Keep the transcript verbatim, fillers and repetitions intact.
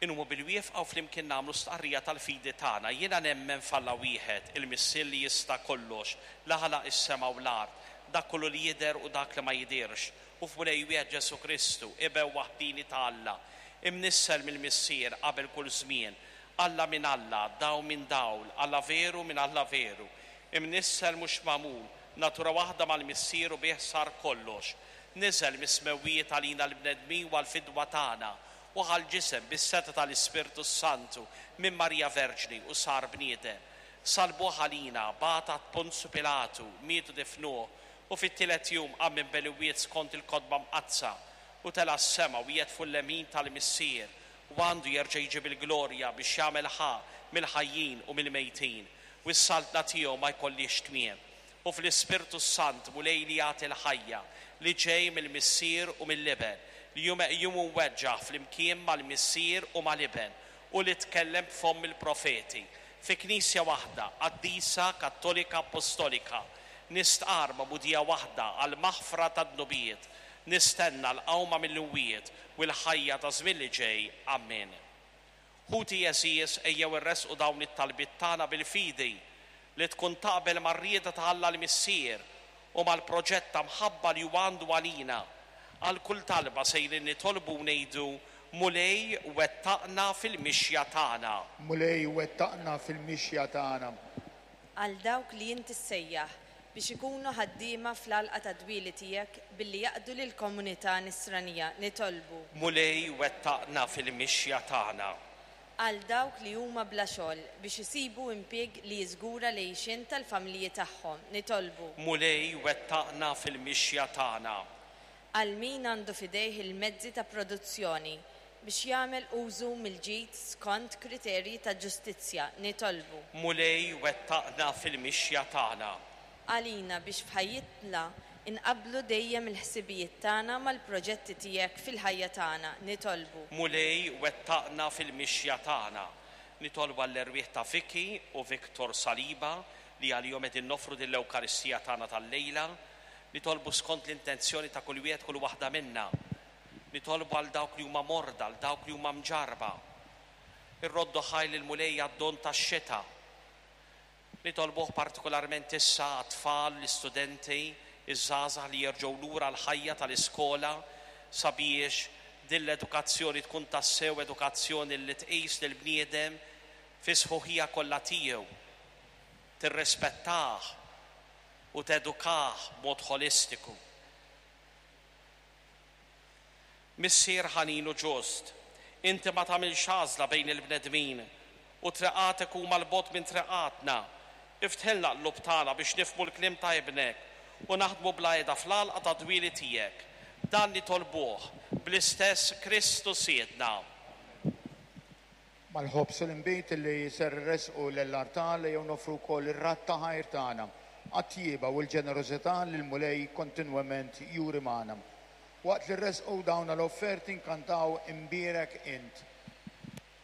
Inqumu bilwieqfa u flimkien nagħmlu stqarrija tal-fidi tagħna. Jiena nemmen f'Alla wieħed, il-Missier li jista' kollox, li ħalaq is-sema u l-art, dak kollu li jidher u dak li ma jidhirx, u f'Mulej wieħed Ġesù Kristu, Iben waħdini ta' Alla, imnissel mill-Missier qabel kull żmien, Alla minn Alla, dawl minn dawl, Alla veru minn Alla veru, imnissel mhux magħmul, natura waħda mal-Missier u bih sar kollox. Niżel mis-smewwiet għalina l-bnedmin u għall-fidwa tagħna, u ħa l-ġisem bis-setgħa tal-Ispirtu Santu minn Marija Verġni u sar bniedem. Salbuh għalina, bata Ponzju Pilatu, miet u difnuh, u fit-tielet jum qam minn bejn l-imwiet skont il-Kotba Mqaddsa, u tela' s-sema u qiegħed fuq il-lemin tal-Missier, u għandu jerġa' jiġi bil-glorja biex jagħmel ħaqq mill-ħajjin u mill-mejtin, u s-saltna tiegħu ma jkollhiex tmiem. U fl-Ispirtu Sant Mulej li jagħti l-ħajja, li ġej mill-Missier u mill-Iben, li hu meqjum u mweġġaħ flimkien mal-Missier u mal-Iben, u li tkellem b'fomm il-profeti. Fi Knisja waħda, qaddisa, Kattolika, Apostolika, nistqar magħmudija waħda għall-maħfra tad-dnubiet, nistenna l-qawma mill-imwiet u l-ħajja ta' żmien li ġej. Amen. Ħuti għeżież, ejjew irressqu dawn it-talbiet tagħna bil-fidi li tkun taqbel mar-rieda ta' Alla l-Missier u mal-proġett ta' mħabba li huwa għandu għalina. Għal kull talba sejrin nitolbu u ngħidu: Mulej, wettaqna fil-mixja tagħna. Mulej, wettaqna fil-mixja tagħna. Għal dawk li inti ssejjaħ biex ikunu ħaddiema fl-għalqa tad-dwieli tiegħek billi jaqdu lill-komunità nisranija, nitolbu. Mulej, wettaqna fil-mixja tagħna. Għal dawk li huma bla xogħol biex isibu impjieg li jiżgura l-għixien tal-familji tagħhom, nitolbu. Mulej, wettaqna fil-mixja tagħna. Għal min għandu f'idejh il-mezzi ta' produzzjoni biex jagħmel użu mill-ġid skont kriterji ta' ġustizzja, nitolbu. Mulej, wettaqna fil-mixja tagħna. Għalina biex f'ħajjitna inqabblu dejjem il-ħsibijiet tagħna mal-proġetti tiegħek fil-ħajja tagħna, nitolbu. Mulej, wettaqna fil-mixja tagħna. Nitolbu għall-erwieħ ta' Vicky u Victor Saliba li għalihom qegħdin noffru din l-Ewkaristija tagħna tal-lejla. Nitolbu skont l-intenzjoni ta' kull wieħed, kull waħda minna. Nitolbu għal dawk li huma morda, għal dawk li huma mġarba. Irroddu ħajr lill-Mulej għad-don tax-xita. Nitolbuh partikolarment issa għat-tfal, l-istudenti, iż-żgħażagħ li jerġgħu lura l-ħajja tal-iskola sabiex din l-edukazzjoni tkun tassew edukazzjoni li tqis lill-bniedem fi sħuħija kollha tiegħu, tirrispettah u tedukah b'mod ħolistiku. Missier ħanin u ġust, inti ma tagħmilx għażla bejn il-bnedmin u triqatek huma 'l bogħod minn triqatna. Iftħilna l-qlub tagħna biex nifhmu l-kliem ta' Ibnek u naħdmu bla heda fl-għalqa tad-dwieli tiegħek. Dan nitolbuh bl-istess Kristu Sidna. Mal-ħobż u l-inbid li ser irressqu lill-artal jew noffru wkoll ir-radd ta' ħajr tagħna għat-tjieba u l-ġenerożità li l-Mulej kontinwament juri magħna. Waqt li rresqu dawn l-offerti nkantaw Imbierek Int.